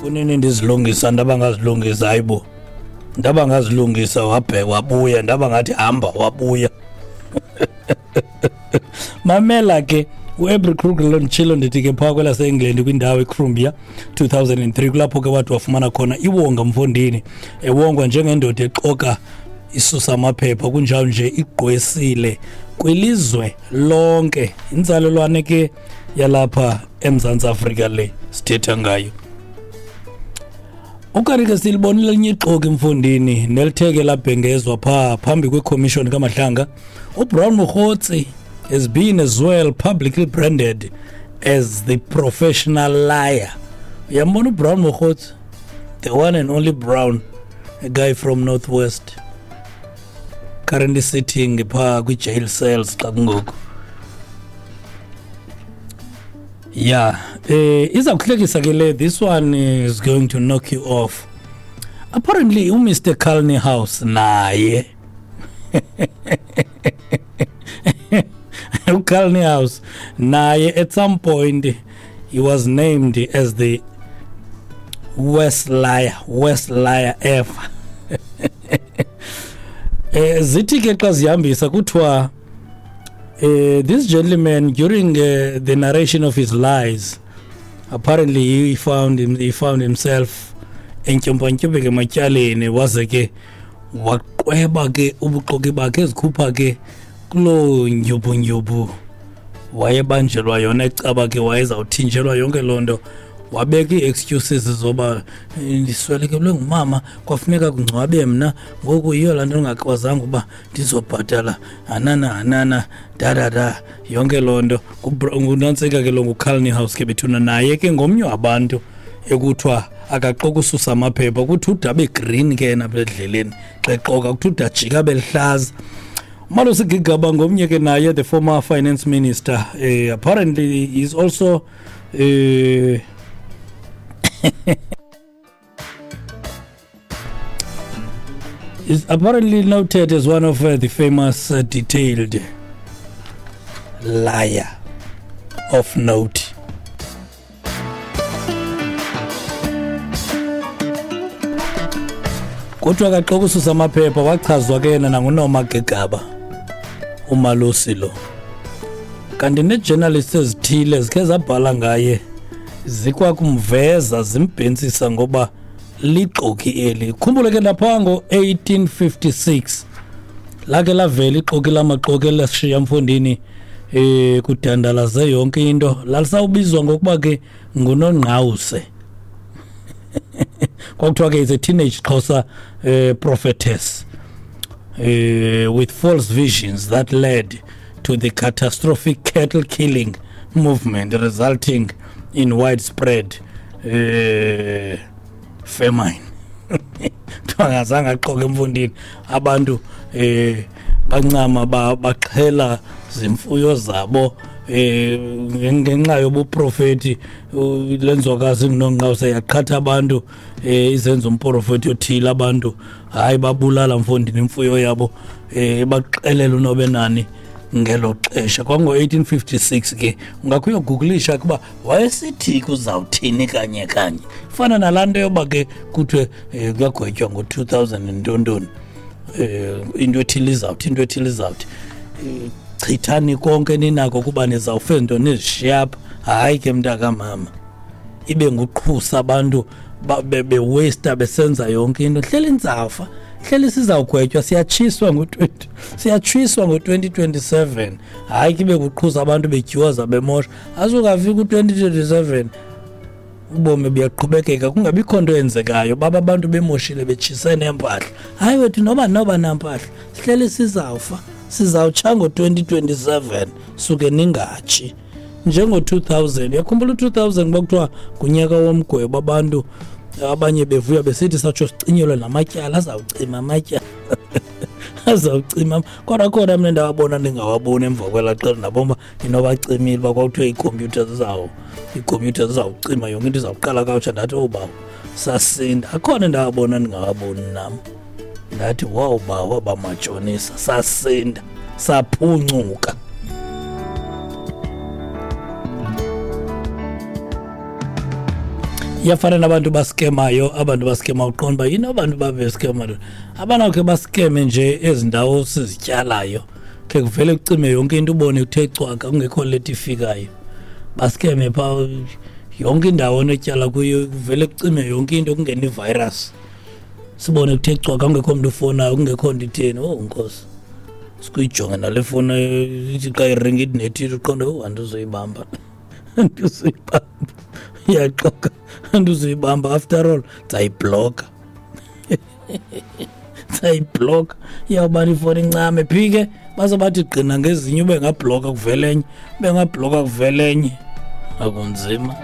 Kunini ndizilungisa, ndaba ngazilungisa, hayibo, ndaba ngazilungisa, wabheka wabuya, ndaba ngathi hamba wabuya. Mamela ke, uAbri Kruger lo nditshilo ndithi ke phaa kwelaseEngland kwindawo iCrumbia 2003, kulapho ke wathi wafumana khona iwonga mfondini, ewongwa njengendoda exoka isusa amaphepha kunjalo nje igqwesile kwilizwe lonke. Inzalelwane ke yalapha eMzantsi Afrika le sithetha ngayo. Ukanti ke silibonile elinye ixoki mfondini nelitheke labhengezwa phaa phambi kwekhomishoni kaMadlanga. UBrown Mogotsi has been as well publicly branded as the professional liar. Uyambona uBrown Mogotsi, the one and only Brown, a guy from Northwest, currently sitting phaa kwi-jail cells xa kungoku. Yeah, iza kuhlekisa ke le, this one is going to knock you off. Apparently uMr Carlney House naye, uCarlney House naye at some point he was named as the worst liar, worst liar ever. Zithi ke xa zihambisa kuthiwa this gentleman during the narration of his lies, apparently he found himself entyumpantyumpeke ematyaleni, waze ke waqweba ke ubuxoki bakhe ezikhupha ke kuloo ndyubundyubu wayebanjelwa yona, ecaba ke wayezawuthinjelwa yonke loo nto. Wabeka ii-excuses zoba ndiswelekelwe ngumama, kwafuneka kungcwabe mna, ngoku yiyo laa nto ndingakwazanga uba ndizobhatala, hanana hanana dadada, yonke loo nto. Ngunantsika ke lo, nguCarlney House ke bethuna, naye ke ngomnye wabantu ekuthiwa akaxoka ususa amaphepha, kuthi ude abe green ke yena apha endleleni xa exoka, kuthi ude ajike abe lihlaza. Malusi Gigaba ngomnye ke naye, the former finance minister, apparently he is also is apparently noted as one of the famous detailed liar of note. Kuthiwa kaxoka ususa amaphepha, wachazwa ke yena nanguNoma Gigaba uMalusi lo. Kanti nee-journalists ezithile zikhe zabhala ngaye, zikwakumveza zimbhentsisa ngoba lixoki eli. Khumbule ke lapha ngo-1856 lake lavela ixoki lamaxoki elashiya mfondini, kudandalaze yonke into. Lalisawubizwa ngokuba ke nguNongqawuse. Kwakuthiwa ke is a teenage Xhosa prophetess with false visions that led to the catastrophic cattle killing movement resulting in widespread famine. Kuthiwa ngazange axoke emfundini, abantu bancama baxhela zimfuyo zabo ngenxa yobuprofeti. Lenzwakazi inguNongqawuse yaqhatha abantu, izenza umprofeti othile, abantu hayi babulala mfondini imfuyo yabo, baxelela unobenani ngelo xesha. Kwango-1856 ke, ungakhe uyogooglisha kuba wayesithi kuzawuthini kanye kanye. Fana nalaa nto yoba ke kuthiwe kuyagwetywa ngo-2000 ntontoni, into ethile izawuthi, into ethile izawuthi, chithani konke ninako kuba nizawufe nto nizishiya apha. Hayi ke mntakamama, ibe nguqhusa abantu bewasta besenza yonke into. Hleli nzafa, hleli sizawugwetywa, siyatshiswa ngo-twenty, siyatshiswa ngo-2027. Hayi ke ibe kuqhusa abantu betyuwaza bemosha, azukafika u-2027 ubomi buyaqhubekeka kungabikho nto yenzekayo, baba abantu bemoshile betshise neempahla. Hayi wethu, noba nampahla, sihleli sizawufa, sizawutsha ngo-2027, suke ningatshi. Njengo-2000, uyakhumbula u-2000 kuba kuthiwa ngunyaka womgwebo, abantu abanye bevuya besithi satsho sicinyelwe namatyala, azawucima amatyala, azawucima. Kodwa khona mna ndawabona ndingawaboni emva kwelaa xesha, ndabona uba inobacimile, uba kwakuthiwa iikhompyutha zizawucima yonke into, izawuqala kakutsha. Ndathi oh bawo, sasinda. Akhona ndawabona ndingawaboni nam, ndathi wow bawo, abamatshonisa, sasinda, saphuncuka. Iyafana nabantu baskemayo, abantu baskema, uqonda uba yini abantu babeskema. Abanawukhe baskeme nje ezi ndawo sizityalayo, khe kuvele kucime yonke into, ubone kuthe cwaka, kungekho leti ifikayo. Baskeme phaa yonke indawo onetyala kuyo, kuvele kucime yonke into, kungene ivirus, sibone kuthe cwaka, kungekho mntu ufonayo, kungekho nto itheni. Oh nkosi, sikuyijonge nale foni, ithi xa iringa ithi nethi, uqonde, oh, andizoyibamba, andizoyibamba, iyaxoka, andizoyibamba. After all ndizayibhloka, ndizayibhloka. Iyawubana ifoni incame phi ke, baze bathi gqina ngezinye, ube ngabhloka kuvele enye, ube ngabhloka kuvele enye, akunzima.